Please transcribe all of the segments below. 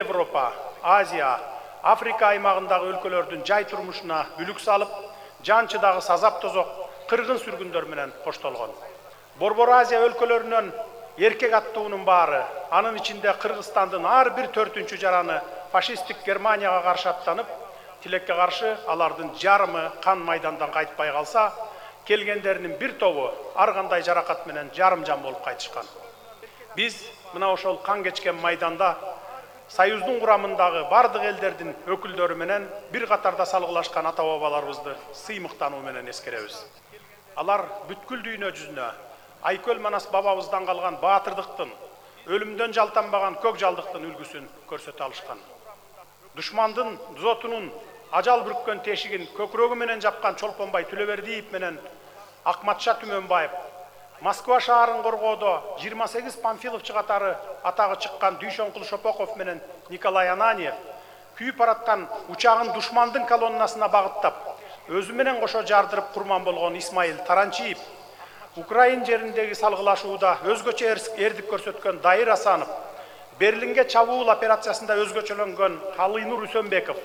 Европа, Азия, Африка аймагындагы өлкөлөрдүн жай турмушуна бүлүк салып, жанчыдагы сазап тозок кыргын сүргүндөр менен коштолгон. Борбор Азия өлкөлөрүнөн эркек аттуунун баары, анын ичинде Кыргызстандын ар бир 4-үнчү жараны фашисттик Германияга каршы аттанып, тилекке каршы алардын жарымы кан майдандан кайтпай калса, келгендеринин бир тобу ар кандай жаракат менен жарым жан болуп кайтышкан. Биз мына ошол кан кечкен майданда Союздун курамындагы бардык элдердин өкүлдөрү менен бир катарда салгылашкан ата-бабаларыбызды сыймыктануу менен эскеребиз. Алар бүткүл дүйнө жүзүнө Айкөл Манас бабабыздан калган баатырдыктын, өлүмдөн жалтанбаган көк жалдыктын үлгүсүн көрсөтө алышкан. Душмандын зотунун ажал бүрккөн тешигин көкүрөгү менен жапкан Чолпонбай Түлөбердиев менен Акматша Түмөнбаев, Москва шаарын коргоодо 28 панфиловчу катары атагы чыккан Дүйшөнкул Шопоков менен Николай Ананьев күйүп бараткан учагын душмандын колоннасына багыттап, өзү менен кошо жардырып курман болгон Исмаил Таранчиев, Украин жериндеги салгылашууда өзгөчө эрдик көрсөткөн Дайыр Асанов, Берлинге чабуул операциясында өзгөчөлөнгөн Калыйнур Үсөнбеков,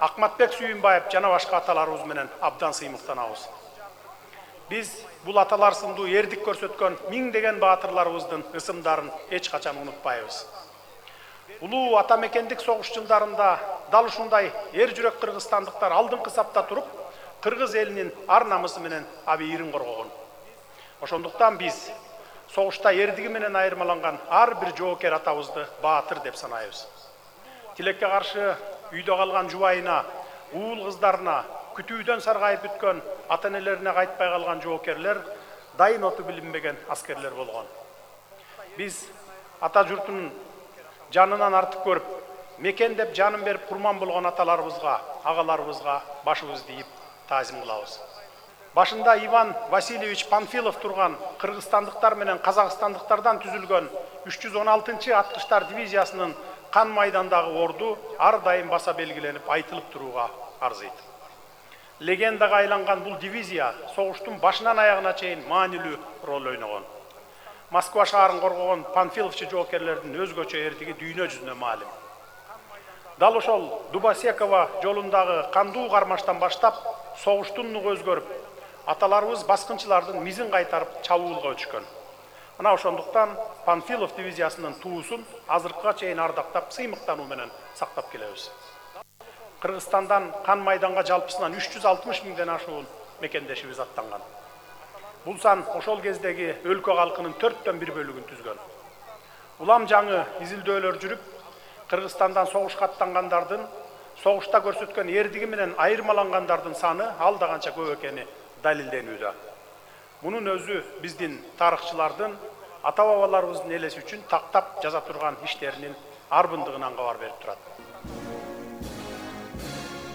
Акматбек Сүйүнбаев жана башка аталарыбыз менен абдан сыймыктанабыз. Биз бул аталар сындуу эрдик көрсөткөн миңдеген баатырларыбыздын ысымдарын эч качан унутпайбыз. Улуу ата мекендик согуш жылдарында дал ушундай эр жүрөк кыргызстандыктар алдыңкы сапта туруп, кыргыз элинин ар намысы менен абийирин коргогон. Ошондуктан биз согушта эрдиги менен айырмаланган ар бир жоокер атабызды баатыр деп санайбыз. Тилекке каршы үйдө калган жубайына, уул кыздарына, күтүүдөн саргайып бүткөн ата-энелерине кайтпай калган жоокерлер дайын оту билинбеген аскерлер болгон. Биз ата журтунун жанынан артык көрүп, мекен деп жанын берип курман болгон аталарыбызга, агаларыбызга башыбызды ийип таазим кылабыз. Башында Иван Васильевич Панфилов турган кыргызстандыктар менен казакстандыктардан түзүлгөн 316-чы аткычтар дивизиясынын кан майдандагы орду ар дайым баса белгиленип айтылып турууга арзыйт. Легендага айланган бул дивизия согуштун башынан аягына чейин маанилүү роль ойногон. Москва шаарын коргогон панфиловчу жоокерлердин өзгөчө эрдиги дүйнө жүзүнө маалим. Дал ошол Дубосекова жолундагы кандуу кармаштан баштап согуштун нугу өзгөрүп, аталарыбыз баскынчылардын мизин кайтарып чабуулга өтүшкөн. Мына ошондуктан Панфилов дивизиясынын туусун азыркыга чейин ардактап, сыймыктануу менен сактап келебиз. Кыргызстандан кан майданга жалпысынан 360 миңден ашуун мекендешибиз аттанган. Бул сан ошол кездеги өлкө калкынын 4/1 бөлүгүн түзгөн. Улам жаңы изилдөөлөр жүрүп, Кыргызстандан согушка аттангандардын, согушта көрсөткөн эрдиги менен айырмалангандардын саны алда канча көп экени далилденүүдө. Мунун өзү биздин тарыхчылардын ата-бабаларыбыздын элеси үчүн тактап жаза турган иштеринин арбындыгынан кабар берип турат.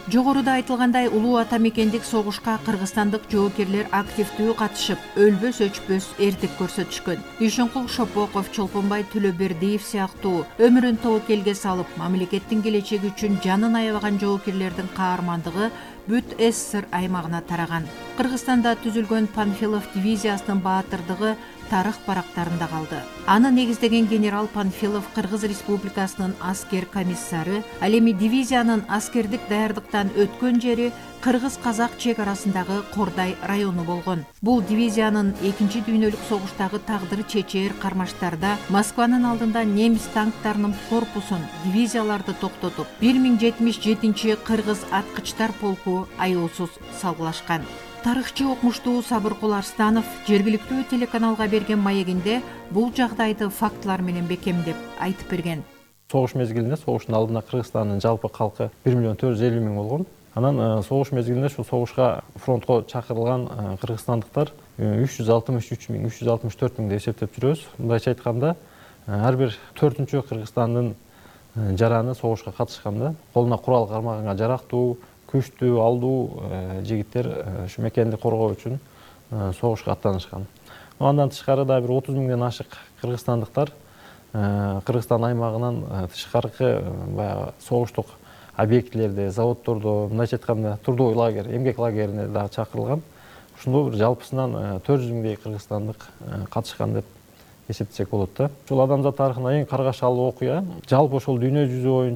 Жогоруда айтылгандай, улуу ата мекендик согушка кыргызстандык жоокерлер активдүү катышып, өлбөс өчпөс эрдик көрсөтүшкөн. Дүйшөнкул Шопоков, Чолпонбай Түлөбердиев сыяктуу өмүрүн тобокелге салып, мамлекеттин келечеги үчүн жанын аябаган жоокерлердин каармандыгы бүт СССР аймагына тараган. Кыргызстанда түзүлгөн Панфилов дивизиясынын баатырдыгы тарых барактарында калды. Аны негиздеген генерал Панфилов Кыргыз Республикасынын аскер комиссары, ал эми дивизиянын аскердик даярдыктан өткөн жери кыргыз-казак чек арасындагы Кордай району болгон. Бул дивизиянын 2 дүйнөлүк согуштагы тагдыры чечээр кармаштарда Москванын алдында немис танктарынын корпусун, дивизияларды токтотуп, 1077 кыргыз аткычтар полку аяусуз салгылашкан. Тарыхчы окумуштуу Сабыркул Арстанов жергиликтүү телеканалга берген маегинде бул жагдайды фактылар менен бекемдеп айтып берген. Согуш мезгилинде согуштун алдында Кыргызстандын жалпы калкы 1.450.000 болгон. Анан согуш мезгилинде ушул согушка фронтко чакырылган кыргызстандыктар 363.000 деп эсептеп жүрөбүз. Мындайча айтканда, ар бир 4-үнчү Кыргызстандын жараны согушка катышканда, колуна курал кармаганга жарактуу, күчтүү, алдуу жигиттер ушу мекенди коргоо үчүн согушка аттанышкан. Андан тышкары да бир 30 миңден ашык кыргызстандыктар Кыргызстан аймагынан тышкаркы баягы согуштук объектилерде, заводдордо, мындайча айтканда, трудовой лагерь, эмгек лагерине да чакырылган. Ушундой бир жалпысынан 400 миңдей кыргызстандык катышкан деп эсептесек болот да. Ушул адамзат тарыхындагы эң каргашалуу окуя. Жалпы ошол дүйнө жүзү боюнча